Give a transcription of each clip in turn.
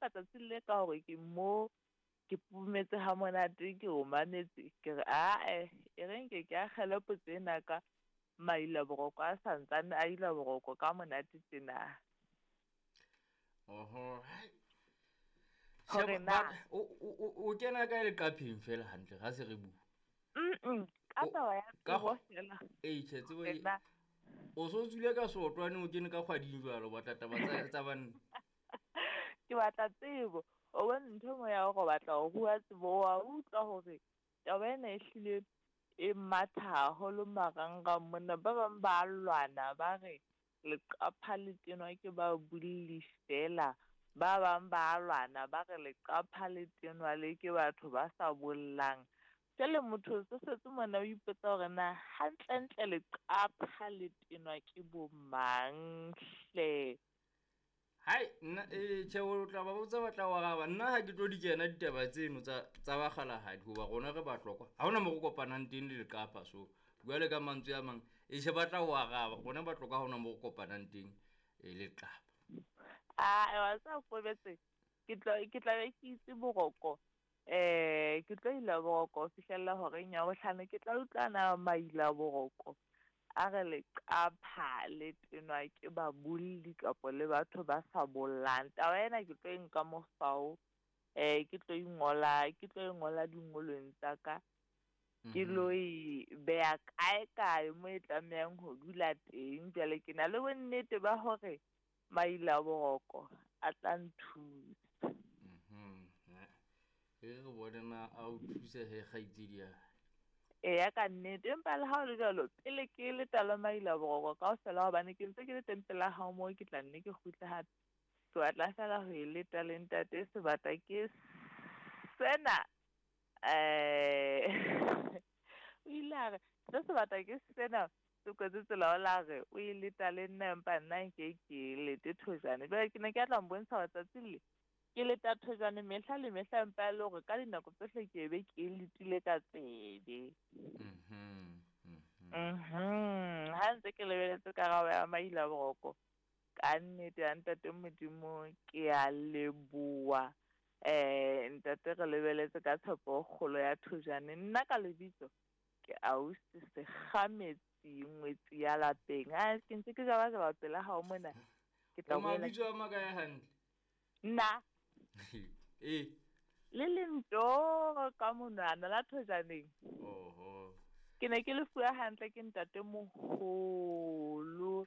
Empa tsatsing le ka hore ke mo ke pumetse ha monate ke o mametse ke re ae e reng ke ke akgele potso ena ka maila boroko a santsane a ila boroko ka monate tjena. Oho. Hai. Hore Sheba, na o kena kae leqapheng fela hantle ha se re bua? Ka taba ya Ka tsebo fela. Ee, tjhe, tsebo Hore na o so tswile ka seotwane o kene ka kgwading jwalo, o batla taba tsa banna. Ke batla tsebo. O bone ntho e nngwe ya hore o batla ho rua tsebo, wa utlwa hore taba ena e hlile e matha haholo marangrang mona. Ba bang ba lwana ba re leqapha le tenwa ke ba bolli fela. Ba bang ba lwana ba re leqapha le tenwa le ke batho ba sa bollang. Jwale motho o so setse mona o ipotsa hore na hantlentle leqapha le tenwa ke bo mang hle. Hai, nna tjhe, o tla ba botsa ba tla o araba. Nna ha ke tlo di kena ditaba tseno tsa bakgalahadi hoba rona re batlokwa. Ha hona mo re kopanang teng le leqapha, so jwale ka mantswe a mang, tjhe, ba tla o araba. Rona batlokwa ha hona mo re kopanang teng leqapha. Ah, wa tseba Kobetse, ke tla be ke itse boroko. Ke tlo ila boroko ho fihlella horeng ya bohlano, ke tla utlwana maila boroko. A re leqapha le tenwa ke babolli kapa le batho ba sa bollang. Taba ena ke tlo e nka mofao, ke tlo ingola, ke tlo e ngola dingolweng tsa ka. Ke lo e beha kae kae mo e tlamehang ho dula teng. Jwale ke na le bonnete ba hore maila boroko a tla nthusa. E re bone na a o thuse he kgaitsedi ya. Eya ka nnete, empa le ha o le jwalo, pele ke leta le maila boroko kaofela hobane ke ntse ke le teng pela hao moo ke tla nne ke kgutle hape. Ke batla fela ho e leta le ntate Sebata ke sena. O ile a re, se Sebata ke sena, se kwetse tsela o la re, o e leta le nna empa nna nke ke lete thojane. Jwale ke ne ke tla mbontsha hore tsatsing le, ke leta thojane mehla le mehla empa e le hore ka dinako tsohle ke be ke letile ka tsebe. Ha ntse ke lebeletse karabo ya maila boroko, ka nnete ya ntate Modimo ke a leboha. Ntate re lebeletse ka tshepo e kgolo ya thojane. Nna ka lebitso ke ausi Sekgametsi ngwetsi ya lapeng. Ha ke ntse ke jabajaba pela hao mona. Ke tla O boela mabitso a makae hantle? Nna. Ee. Le lento ka monwana la thojaneng. Oho. Ke ne ke le fuwa hantle ke ntate moholo,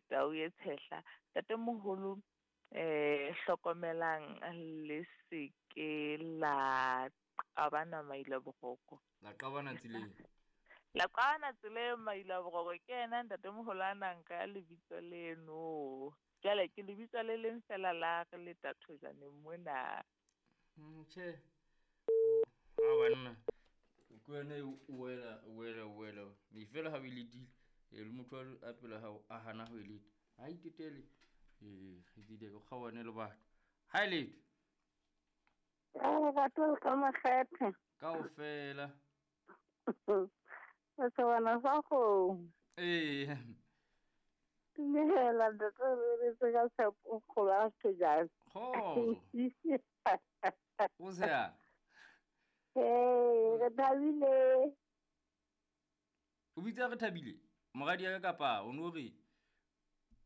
tau e tshehla. Ntate moholo, hlokomelang le se ke la qabana maila boroko. La qabana tseleng. La qabana tseleng maila boroko. Ke yena ntate moholo a nang ka lebitso leno. Jwale ke lebitso le leng fela la re leta thojaneng mona. Tjhe. Ha banna. O ke wena o wela, o wela, o wela. Me fela ha o e letile, le motho a pela hao a hana ho e leta. Ha itetele. Kgaitsedi o kgaohane le batho. Ha e lete. Batho le ka makgethe. Kaofela. Setshwana sa kgomo. Ee. Dumela ntate, re letse ka tshepo kgolo ya thojane. Kgotso. O se ya? Ee, re thabile. O bitsa re thabile? Moradi ya ka kapa o no re?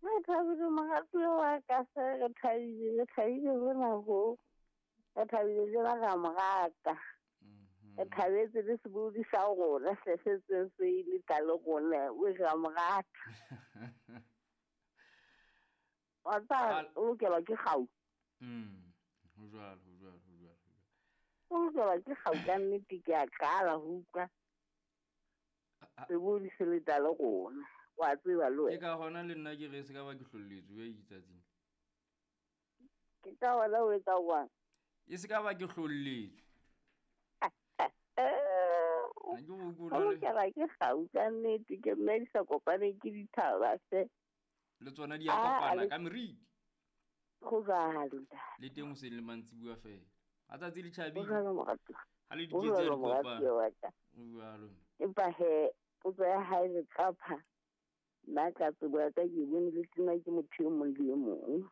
Re thabile moratuwa wa ka se, re thabile, re thabile hona ho. Re thabile le ba ra mo rata. Re thabetse le sebodi sa rona se setseng se ile ka le rona, o re a mo rata. Wa tseba, o lokelwa ke kgau. Ho jwalo, ho jwalo, ho jwalo, ho jwalo. O lokelwa ke kgau ka nnete, ke a qala ho utlwa. Sebodi se le tla le rona. Wa tseba le wena. Ke ka hona le nna ke re se ka ba ke hlolletswe jwale ditsatsing. Ke ka hona o etsa jwang? E se ka ba ke hlolletswe. Ha ke go utlwe O le- lokela ke kgau ka nnete, ke nna di sa kopaneng ke dithaba hle. Le tsona di a kopana ka meriti. Ho jwalo, ntate. Le teng hoseng le mantsibuya fela. Ha tsatsi le tjhabile. Ho jwalo, moratuwa. Ha le Ho diketse jwalo, di kopana. moratuwa wa ka. Ho jwalo. Empa he, potso ya hae leqapha, nna ka tsebo ya ka ke bone le tena ke motho e mong le e mong.